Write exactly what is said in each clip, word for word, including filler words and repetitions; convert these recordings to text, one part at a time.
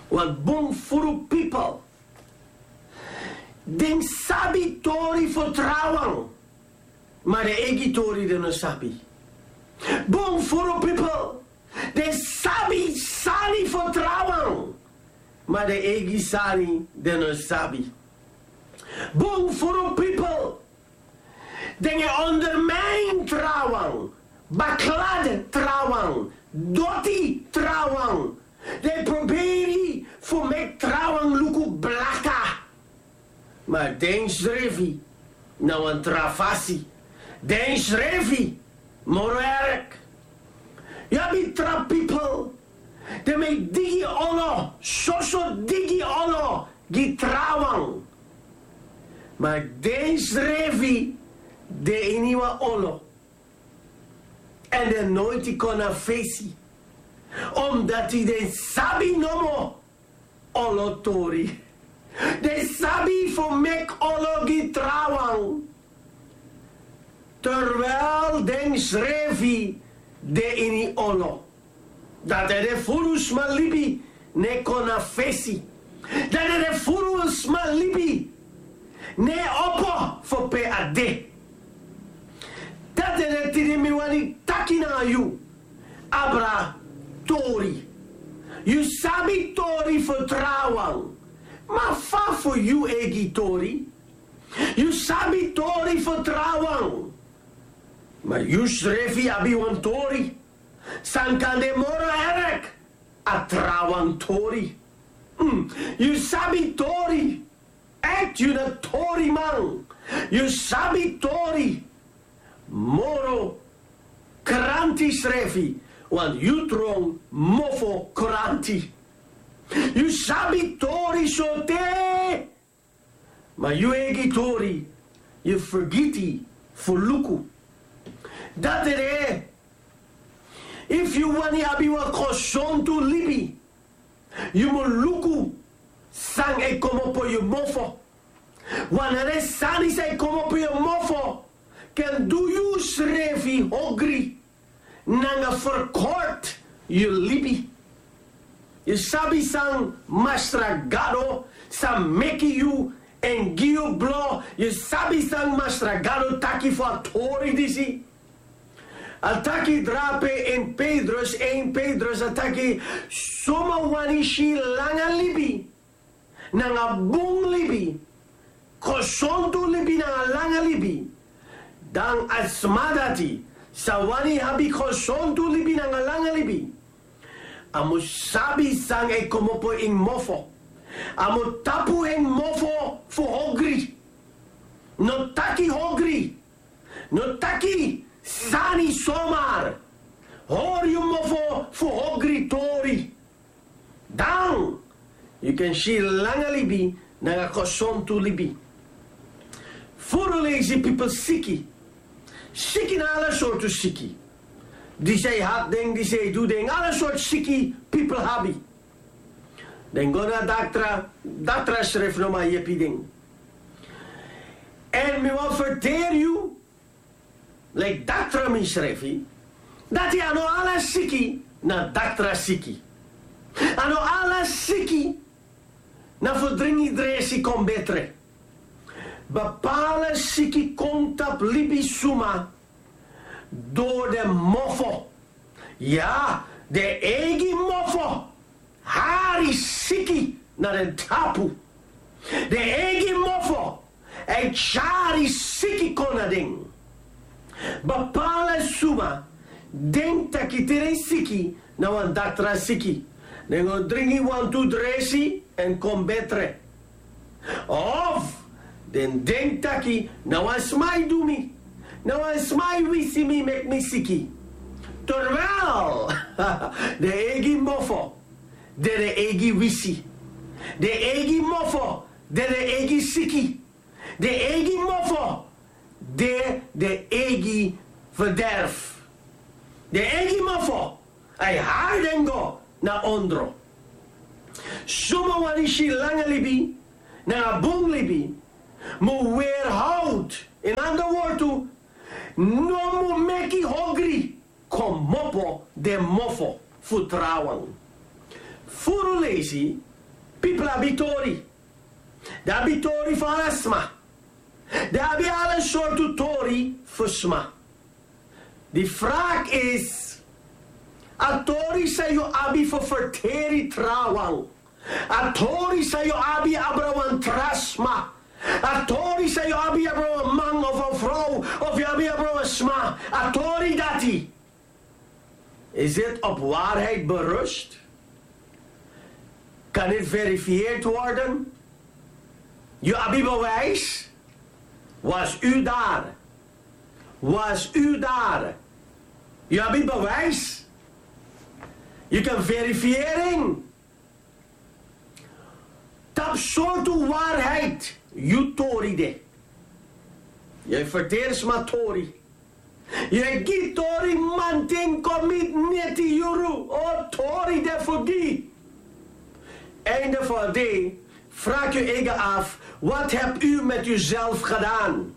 Wan bun furu pipel, den sabi tori fu trawan, ma den eigi tori den no sabi. Bun furu pipel, den sabi sani fu trawan, ma den eigi sani den no sabi. Bun furu pipel, den e ondermijn trawan, baklad trawan, doti trawan. Den e proberi fu meki trawan luku blaka. Ma den srefi na wan tra fasi. Den srefi moro erg. Yu abi tra pipel, den e digi olo, soso digi olo gi trawan. Ma den srefi de ini wan olo. Èn den noiti kon na fesi. Omdati den sabi nomo olo tori. Den sabi fu meki olo gi trawan. Terwijl den srefi de ini olo. Dati ede furu sma libi no e kon na fesi. Dati ede furu sma libi no e opo fu pe a de. Dati ede tide mi wani taki na yu. Abra tori. Yu sabi tori fu trawan. Ma fa fu yu eigi tori? Yu sabi tori fu trawan. Ma yu srefi abi wan tori. San kan de moro erg a trawan tori. Mm, yu sabi tori. Ègt yu na toriman. Yu sabi tori. Moro kranti srefi. Want yu tron mofo kranti. Yu sabi tori sote. Ma yu eigi tori, yu fergiti fu luku. Dati ede, efu yu wani abi wan gesontu libi, yu mu luku san e komopo yu mofo. Wanten sani san e komopo yu mofo kan du yu srefi hogri. Nanga ferkort yu libi. Yu sabi san Masra Gado san meki yu èn gi yu blo? Yu sabi san Masra Gado taki fu a tori disi? A taki drape in Petrus, één Petrus, a taki: suma wani si langa libi nanga bun libi, gesontu libi nanga langa libi, dan a sma dati san wani abi gesontu libi nanga langa libi, a mu sabi san e komopo en mofo. A mu tapu en mofo fu hogri. No taki hogri. No taki sani somar. Hori yu mofo fu hogri tori. Dan yu kan si langa libi nanga gesontu libi. Furu leisi pipel siki. Siki na ala sortu siki. Disi e hati den, disi e du den, ala sortu siki pipel abi. Den go na daktra, daktra srefi no man yepi den. Èn mi wani ferteri yu, leki daktra misrefi, dati a no ala siki na daktra siki. A no ala siki na fu dringi dresi kon betre. Bepaalde siki kon tapu libisma dori den mofo. Ya, den eigi mofo hari siki na den tapu. Den eigi mofo e tyari siki kon na den. Bepaalde suma denki taki te den siki na wan daktra siki, den go dringi wantu dresi èn kon betre. Of den denki taki na wan sma e du mi, na wan sma e wisi mi meki mi siki. Terwijl den eigi mofo de den eigi wisi. Den eigi mofo de den eigi siki. Den eigi mofo de den eigi verderf. Den eigi mofo e hari den go na ondro. Suma wani si langa libi nanga bun libi mu weerhoudt, in ander wortu, no mu meki hogri komopo den mofo fu trawan. Furu leisi, Pipel abi tori. Den abi tori fu ala sma. Den abi ala sortu tori fu sma. Di vraag is, a tori san yu abi fu ferteri trawan, a tori san yu abi abra wan tra sma, a tori san yu abi abra wan man of wan frow, of yu abi abra wan sma, a tori dati, is dit op waarheid berust? Kan dit verifieerd worden? Yu abi bewijs? Was u daar? Was u daar? Yu abi bewijs? Yu kan verifiering. Tapu sortu waarheid yu tori de. Yu e ferteri sma tori. Yu e gi tori manten kon miti neti yuru. O, tori de fu gi. Einde van de day, vraag yu eigen af, wat heb u met uzelf gedaan?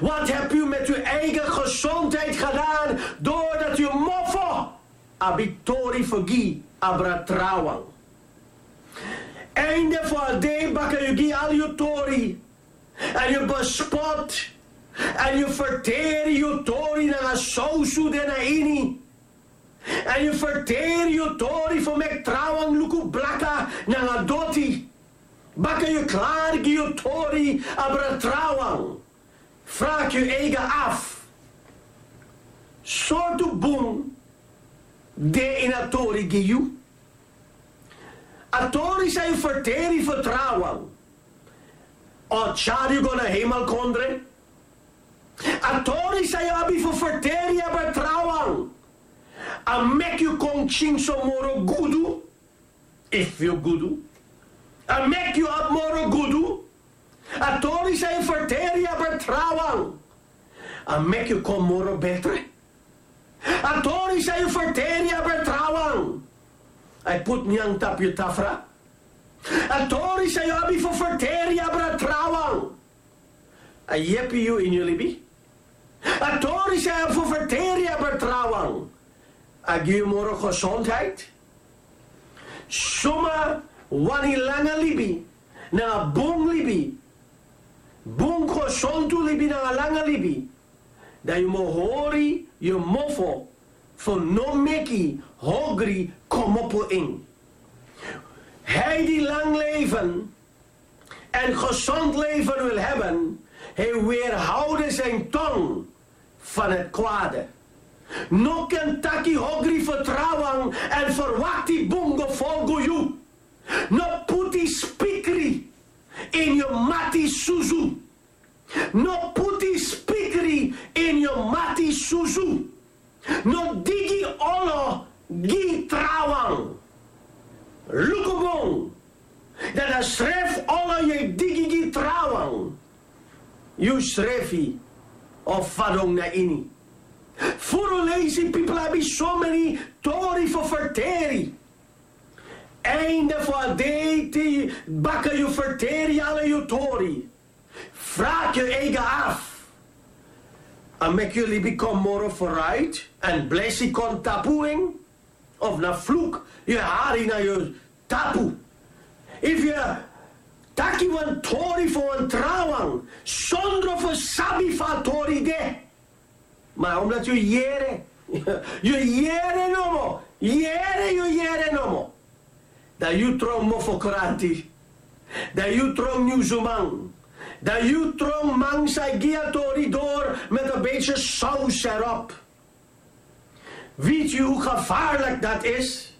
Wat heb u met uw eigen gezondheid gedaan doordat yu mofo abi tori fu gi abra trawan? Einde van de day, baka yu gi al yu tori, èn yu bespot, èn yu ferteri yu tori nanga sowsu de na ini, èn yu ferteri yu tori fu meki trawan luku blaka nanga doti. Baka yu klari gi yu tori abra trawan, vraag yu eigen af, sortu bun de ini a tori gi yu? A tori san yu ferteri fu trawan o tyari yu go na hemelkondre? A tori san yu abi fu ferteri abra trawan a meki yu kon tyinso moro gudu, efu yu gudu, a meki yu abi moro gudu? A tori san yu ferteri abra trawan a meki yu kon moro betre? A tori san yu ferteri abra trawan a e put nyan tapu yu tafra? A tori san yu abi fu ferteri abra trawan a yepi yu ini yu libi? A tori san yu abi fu ferteri abra trawan a gi yu moro gezondheid? Suma wani langa libi nanga bun libi, bun gesontu libi nanga langa libi, dan yu mu hori yu mofo fu no meki hogri komopo in. Hij die lang leven en gezond leven wil hebben, hij weerhoude zijn tong van het kwade. No ken taki hogri fu trawan èn ferwakti bun go folgu yu. No puti spikri ini yu mati susu. No puti spikri ini yu mati susu. No digi olo gi trawan. Luku bun, dan a srefi olo yu e digi gi trawan, yu srefi o fadon na ini. Furu leisi pipel abi someni tori fu ferteri. Einde fu a dei, te baka yu ferteri ala yu tori, vraag yu eigen af, a meki yu libi kon moro vooruit èn blesi kon tapu en, of na vloek yu e hari na yu tapu? Efu yu e taki wan tori fu wan trawan sondro fu sabi fa a tori de, ma omdat yu yere, yu yere nomo, yere, yu yere nomo, dan yu tron mofokranti, dan yu tron nyunsuman, dan yu tron man san e gi a tori doro met een beetje saus erop. Weet u hoe gevaarlijk dat is?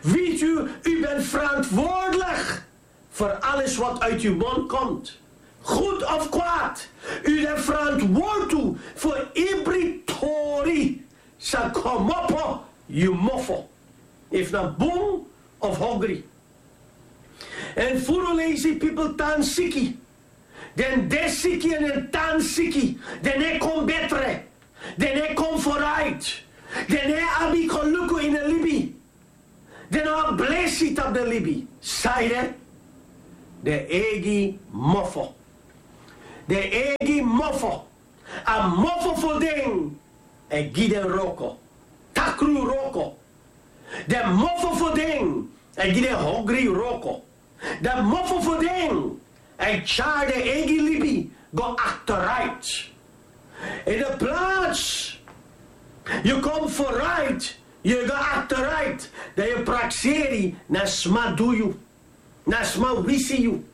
Weet u, u bent verantwoordelijk voor alles wat uit uw mond komt. Goed of kwaad. U bent verantwoordelijk voor every tori san komopo yu mofo, efu na bun of hogri. Èn furu leisi pipel tan siki. Den de siki èn den tan siki. Den no e kon betre. Den no e kon vooruit. Den no e abi kon luku ini libi. Den no abi blesi tapu den libi. Sanede? Den eigi mofo. Den eigi mofo. A mofo fu den e gi den wroko. Takru wroko. Den mofo fu den èn gi den hongri wroko. Dan mofo fu den e tyari den eigi libi go akteruit. In de plaats yu kon vooruit, yu go akteruit. Dan yu prakseri na sma du yu, na sma wisi yu,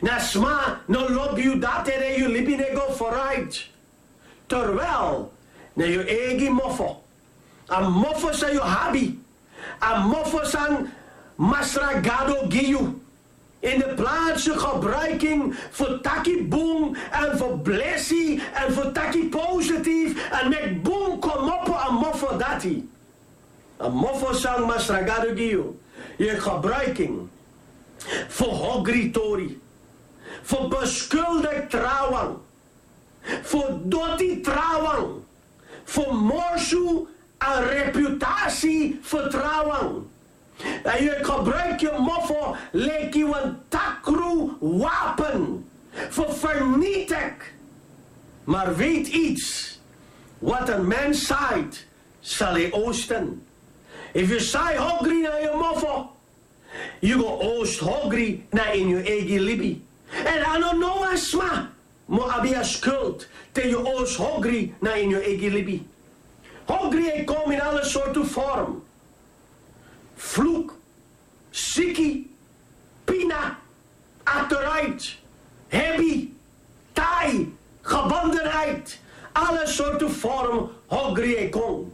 na sma no lobi yu, dati ede yu libi no e go vooruit. Terwijl na yu eigi mofo, a mofo san yu abi, a mofo san Masra Gado gi yu, in de plaats yu gebruik en fu taki bun èn fu blesi èn fu taki positief èn meki bun komopo a mofo dati. A mofo san Masra Gado gi yu, yu gebruik en fu hongri tori, fu beskuldig trawan, fu doti trawan, fu morsu a reputasi fu trawan. Èn yu e gebruik yu mofo leki wan takru wapen fu vernietig. Maar weet iets, wat een mens zaait, zal hij oogsten. Efu yu sai hongri na yu mofo, yu go oogst hongri na ini yu eigi libi. Èn a no no wan sma mu abi a skuld te yu oogst hongri na ini yu eigi libi. Hongri e kon in alle sortu vorm. Vloek, siki, pina, akteruit, hebi, tai, gebondenheid, alle sortu vorm hongri e kon.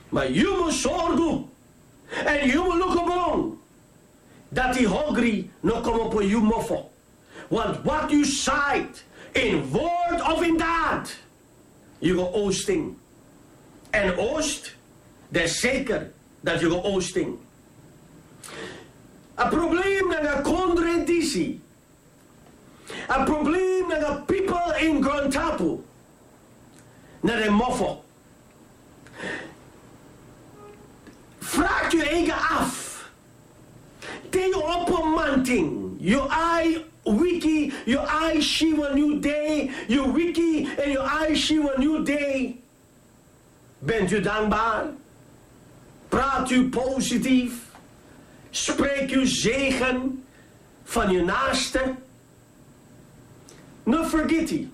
Maar yu mu sorgu èn yu mu luku bun dati hongri no komopo yu mofo. Want wat yu zaait, in woord of in daad, yu go oogst en. Èn oogst, dan zeker dati yu go oogst en. A probleem nanga kondre disi, a probleem nanga people in Grontapu, na den mofo. Vraag yu eigi af. Te yu opo manten, yu ai wiki, yu ai si wan new day, yu wiki èn yu ai si wan new day. Bent u dankbaar? Praat u positief? Spreek u zegen van uw naaste? No fergiti.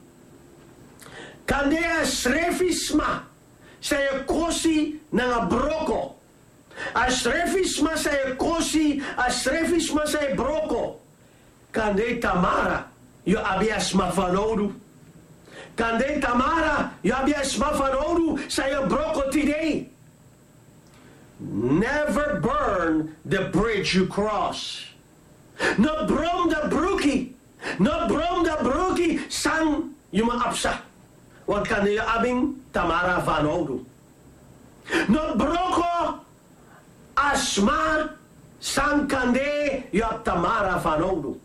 Kande a srefi sma san e kosi nanga broko. A srefi sma san e kosi, a srefi sma san e broko. Kande tamara yu abi a sma fanowdu. Kande tamara yu abi a sma fanowdu san yu broko tide. Never burn the bridge you cross. No bron a bruki, no bron a bruki san yu mu absa. Want kande yu abi en tamara fanowdu. No broko a sma san kande yu abi tamara fanowdu.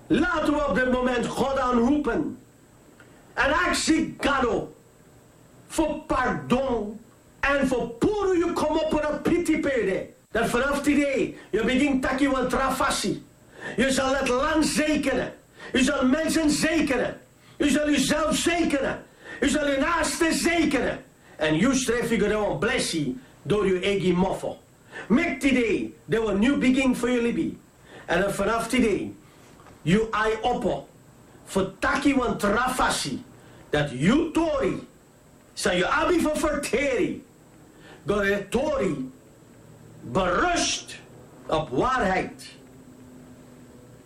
Laten we op dit moment God aanroepen en aksi Gado fu pardon èn fu puru yu komopo na piti pe yu de. Dan vanaf tide yu bigin taki wan tra fasi. Yu zal het land zegenen. Yu zal mensen zegenen. Yu zal uzelf zegenen. Yu zal yu naaste zegenen. Èn yu srefi go de wan blesi dori yu eigi mofo. Meki tide de wan new beginning fu yu libi. Èn dan vanaf tide yu ai opo fu taki wan tra fasi, dati yu tori san yu abi fu ferteri, go de tori berust op waarheid,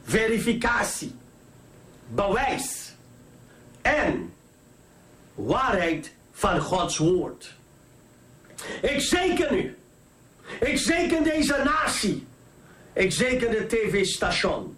verificatie, bewijs en waarheid van Gods woord. Ik zegen u. Ik zegen deze natie. Ik zegen de tv-station.